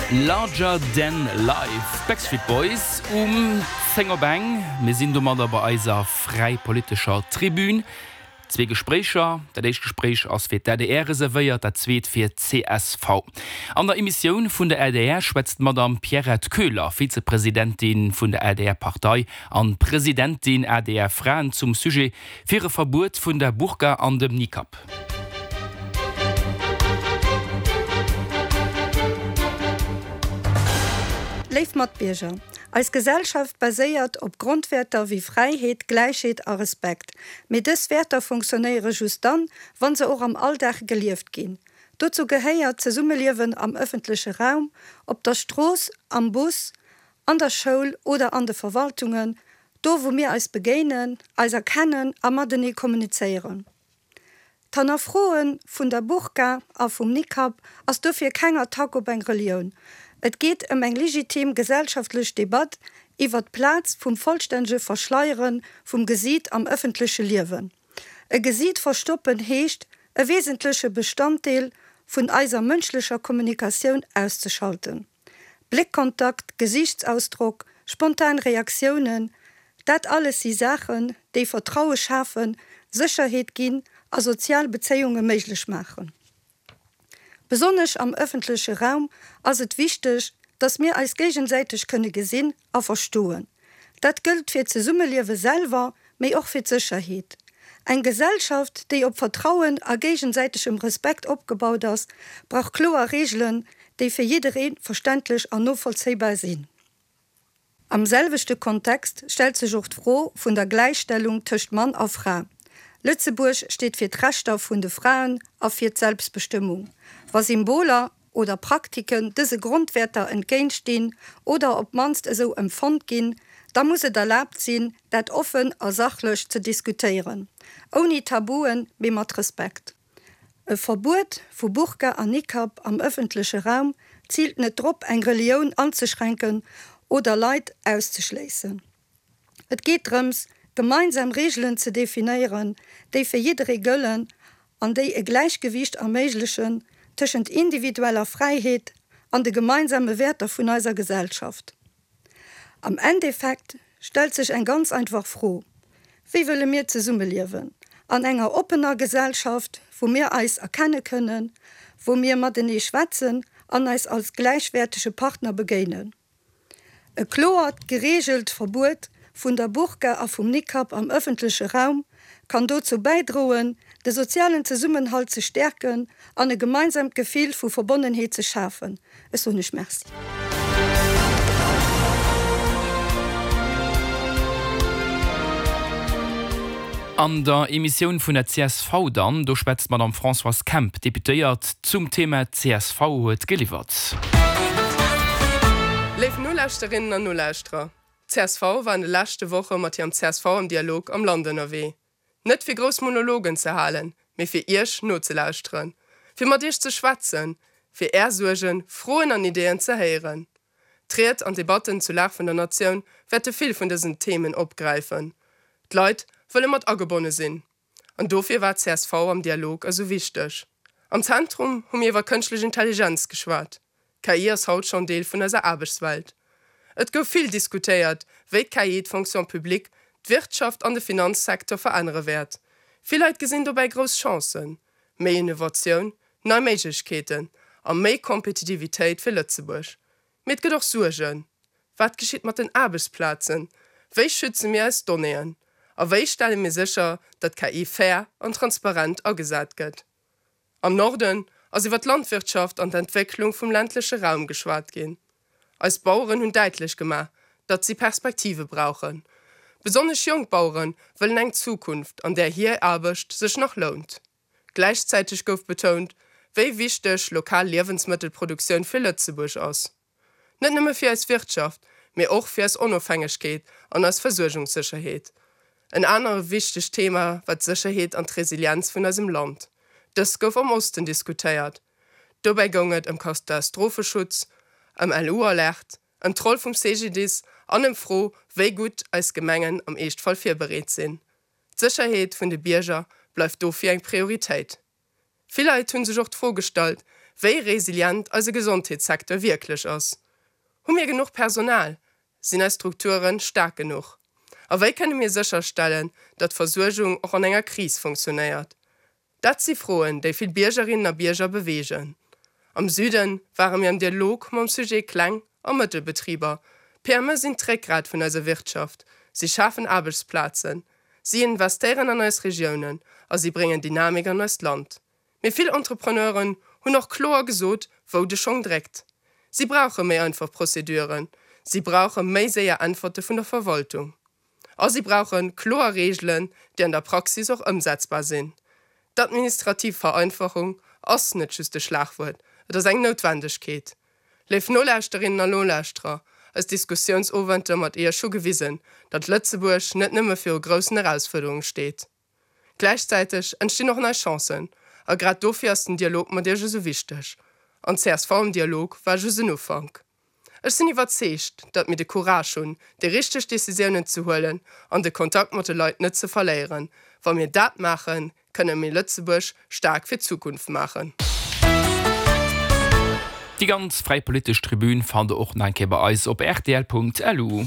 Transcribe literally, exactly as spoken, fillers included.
Larger Than Life, Backstreet Boys um zéng op eng. Mir sinn domadder bei eiser fräi politescher Tribün. Zwee Gespréicher, Dat éischt Gespréich ass fir d'A D R reservéiert, dat zweet fir d'C S V. An der Emissioun vun der A D R schwätzt d'Madame Pierrette Köhler, Vizepresidentin vun der A D R-Partei an Presidentin A D R Fraen zum Sujet fir e Verbuet vun der Burka an dem Nikab. Léif Matbierger, eis Gesellschaft baséiert op Grondwäerter wéi Fräiheet, Gläichheet a Respekt. Mee dës Wäerter funktionéiere just dann, wann se och am Alldag gelieft ginn. Dozou gehéiert d'Zesummeliewen am ëffentleche Raum, op der Strooss, am Bus, an der Schoul oder an de Verwaltungen, do wou mir eis begéinen, eis erkennen a matenee kommunizéieren. D'Hannerfroe vun der Burka a vum Nikab ass dofir keng Attack op eng Relioun. Et geet ëm eng legitim gesellschaftlech Debatt iwwer d'Plaz vum vollstännege Verschleiere vum Gesiit am ëffentleche Liewen. E Gesiit verstoppen heescht, e wesentleche Bestanddeel vun eiser mënschlecher Kommunikatioun auszeschalten. Bléckkontakt, Gesiichtsausdrock, spontan Reaktiounen, dat alles si Saachen, déi Vertraue schafen, Sécherheet ginn a sozial Bezéiunge méiglech maachen. Besonnesch am ëffentleche Raum ass et wichteg, dass mir eis géigesäiteg kënne gesinn a verstoen. Dat gëllt fir d'Zesummeliewe selwer, mee och fir d'Sécherheet. Eng Gesellschaft, déi op Vertrauen a géigesäitegem Respekt opgebaut ass, brauch kloer Reegelen, déi fir jidderee verständlech an novollzéibar sinn. Am selwechte Kontext stellt sech och d'Fro vun der Gläichstellung tëscht Mann a Fra. Lëtzebuerg steet fir d'Rechter vun de Fraen a fir d'Selbstbestëmmung. Wa Symboler oder Praktiken dëse Grondwäerter entgéintstinn oder op d'mannst esou empfonnt ginn, da muss et erlaabt sinn, dat offen a sachlech ze diskutéieren. Ouni Tabuen, mee mat Respekt. E Verbuet vu Burka an Nikab am ëffentleche Raum ziilt net drop, eng Relioun anzeschränken oder Leit auszeschléissen. Et geet drëms, gemeinsam Reegelen ze definéieren, déi fir jidderee gëllen an déi e Gläichgewiicht erméiglechen tëschent individueller Fräiheet an de gemeinsame Wäerter vun eiser Gesellschaft. Am Endeffekt stellt sech eng ganz einfach Fro: Wéi wëlle mir zesummeliewen? An enger oppener Gesellschaft, wou mir eis erkenne kënnen, wou mir matenee schwätzen an eis als gläichwäertege Partner begéinen. E kloert, gereegelt Verbuet vun der Burka a vum Nikab am ëffentleche Raum kann dozou bäidroen, de sozialen Zesummenhalt ze stäerken an e gemeinsaamt Gefill vu Verbonnenheet ze schafen. Ech soen Iech Merci. An der Emissioun vun der C S V dann, do schwätzt d'Madame Françoise Kemp, Deputéiert, zum Thema C S V huet geliwwert. Léif Nolauschterinnen an Nolauschterer, C S V war an de leschte Woche mat hirem C S V am Dialog am Land ënnerwee. Net fir grouss Monologen ze halen, mee fir Iech nozelauschteren, fir mat Iech ze schwätzen, fir Är Suergen, Froen an Ideeën ze héieren. D'Ried an Debatten zur Lag vun der Natioun wäerte vill vun dësen Themen opgräifen. D'Leit wëlle mat agebonne sinn. An dofir war C S V am Dialog esou wichteg. Am Zentrum hu mir iwwer kënschtlech Intelligenz geschwat. K I ass haut schonn Deel vun eiser Aarbechtswelt. Et gouf vill diskutéiert, wéi d'K I d'Fonction publique, d'Wirtschaft an de Finanzsecteur verännere wäert. Vill Leit gesinn dobäi grouss Chancen, méi Innovatioun, nei Méiglechkeeten a méi Kompetitivitéit fir Lëtzebuerg. Mee et gëtt och Suergen. Wat geschitt mat den Aarbechtsplazen? Wéi schütze mir eis Donnéeën? A wéi stelle mir sécher, datt K I fair an transparent agesat gëtt? Am Norden ass iwwer d'Landwirtschaft an d'Entwécklung vum ländleche Raum geschwat ginn. Eis Baueren hunn däitlech gemaach, datt si Perspektive brauchen. Besonnesch jonk Bauere wëllen eng Zukunft, an där hir Aarbecht sech nach lount. Gläichzäiteg gouf betount, wéi wichteg lokal Liewensmëttelproduktioun fir Lëtzebuerg ass. Net nëmme fir eis Wirtschaft, mee och fir eis Onofhängegkeet an eis Versuergungssécherheet. En anere wichtegt Thema war d'Sécherheet an d'Resilienz vun eisem Land. Dëst gouf am Osten diskutéiert. Dobäi goung et ëm Katastropheschutz, ëm L U-Alert, ëm d'Roll vum C G D I S an ëm d'Fro, wéi gutt eis Gemengen am Eeschtfall virbereet sinn. D'Sécherheet vun de Bierger bleift dofir eng Prioritéit. Vill Leit hunn sech och d'Fro gestallt, wéi resilient eise Gesondheetssecteur wierklech ass. Hu mir genuch Personal? Sinn eis Strukture staark genuch? A wéi kënne mir sécherstellen, datt d'Versuergung och an enger Kris funktionéiert? Dat si Froen, déi vill Biergerinnen a Bierger beweegen. Am Süden ware mir am Dialog mam Sujet Kleng a Mëttelbetriber. PME sinn d'Réckgrat vun eiser Wirtschaft, si schafen Aarbechtsplazen, si investéieren an eis Regiounen a si bréngen Dynamik an eist Land. Mee vill Entrepreneuren hunn och kloer gesot, wou de Schong dréckt. Si brauche méi einfach Prozeduren, si brauche méi séier Äntwerte vun der Verwaltung. A si brauche kloer Reegelen, déi an der Praxis och ëmsetzbar sinn. D'administrativ Vereinfachung ass net just e Schlagwuert, et ass eng Noutwendegkeet. Léif Nolauschterinnen an Nolauschterer, eis Diskussiounsowenter mat Iech hu gewisen, datt Lëtzebuerg net nëmme viru groussen Erausfuerderunge steet. Gläichzäiteg entstinn och nei Chancen, a grad dofir ass den Dialog mat Iech esou wichteg. An csv am Dialog war just en Ufank. Ech sinn iwwerzeegt, datt mir de Courage hunn, déi richteg Decisiounen ze huelen an de Kontakt mat de Leit net ze verléieren. Wa mir dat maachen, kënne mir Lëtzebuerg staark fir d'Zukunft maachen. Déi ganz Fräi Politesch Tribün fannt der och nach eng Kéier bei eis op rtl.lu.